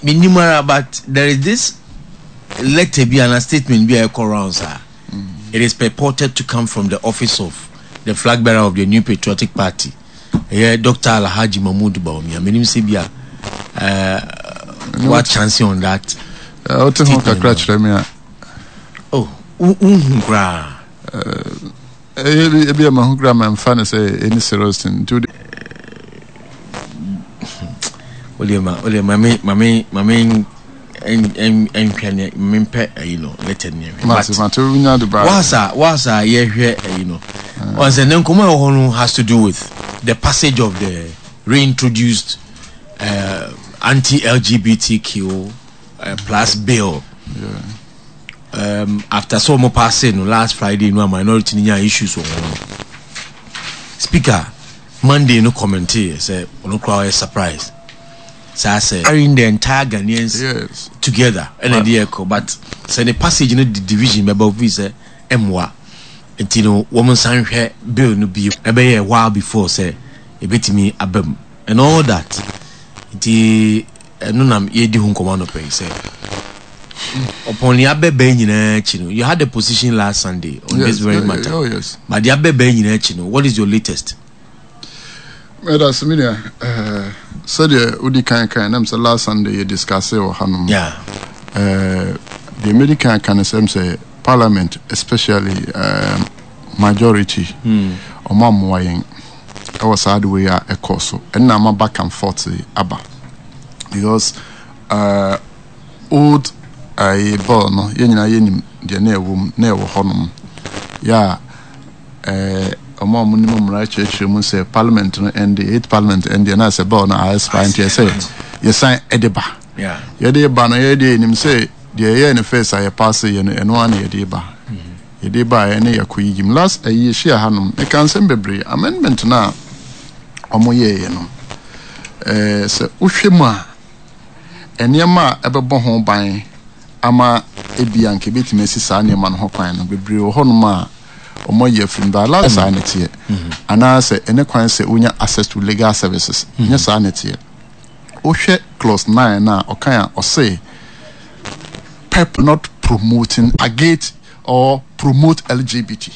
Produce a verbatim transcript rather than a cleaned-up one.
Menim ara, but there is this letter bi and a statement bi a ɛkɔ rounds a it is purported to come from the office of the flag bearer of the New Patriotic Party, ɛyɛ Doctor Alhaji Mahmood Bawumia. Menim sɛ bi a uh, what chance on that. Wote ho kakra kyerɛ me a. Oh, wonhu koraa? Ebi a mahu koraa mamfa no sɛ ɛni serious thing, nti wode wode ma wode ma me ma me ma me nhwɛ ne mempɛ ayi no, letter ne hwɛ. Mate, mate, wonya de ba. Wasa wasa yɛhwɛ ayi no, wɔn sɛ ne nkɔmɔ a ɛwɔ hɔ no has to do with the passage of the reintroduced uh, anti-L G B T Q uh, plus bill. Yeah. Um, after so mo pass no last Friday no, a minority ni nya issues wɔ ho no, Speaker Monday no comment sɛ ɔno koraa ɔyɛ surprise saa sɛ carrying the entire Ghanaians yes. together ɛna ɛde ɛkɔ, but sɛ ne passage no de division bɛba ofi sɛ ɛmmoa, nti no wɔn nsan hwɛ bill no bio, ɛbɛyɛ a while before sɛ ebetumi aba mu and all that. Nti ɛno nam yɛdi ho nkɔmɔ anɔpɛ yi sɛ upon the abɛbɛn nyinaa akyi no, you had a position last Sunday on yes, this very yeah, matter. Oh, yes. But the abɛbɛn nyinaa akyi no, what is your latest? Mɛda se me nua, sɛdeɛ wodi kan kan nam sɛ last Sunday yɛ discuss wɔ hanom. Yeah. Deɛ mɛdi kan ka no sɛm sɛ parliament, especially um, majority, ɔmo ammoa yɛn ɛwɔ saa de wei a ɛkɔ so, ɛnna ama back and forth yi aba, because uh, old uh, bill no, yɛn nyinaa yɛnim deɛ na ɛwɔ mu na ɛwɔ hɔnom yɛ a ɛɛ ɔmo a ɔmo nim mmara kyerɛkyerɛ mu sɛ parliament no ɛnde eight parliament ɛnde na sɛ bill no a expire, nti ɛsɛ yɛsan ɛde ba. Yeah. Yɛde ba no, yɛde yɛnim sɛ deɛ ɛyɛ ne first a yɛpaase yɛ no, ɛno ara na yɛde ba. Yɛde ba a, ɛne yɛkɔ yiyi mu. Last ɛyi yɛhyia hanom, meka nsɛm bebree. Amendment no a ɔmo yɛɛyɛ no, ɛɛ sɛ wohwɛ mu a, nneɛma a ɛbɛbɔ ho ban ama ebi a nka ebetumi asi saa nneɛma no ho kwan no bebree wɔ hɔnom a ɔmo ayi afiri mu ba ala. Saa ne teɛ anaasɛ ɛne kwan sɛ wonya access to legal services nyɛ saa ne teɛ. Wohwɛ clause nine na ɔkan a ɔse pep not promoting, agate or promote L G B T.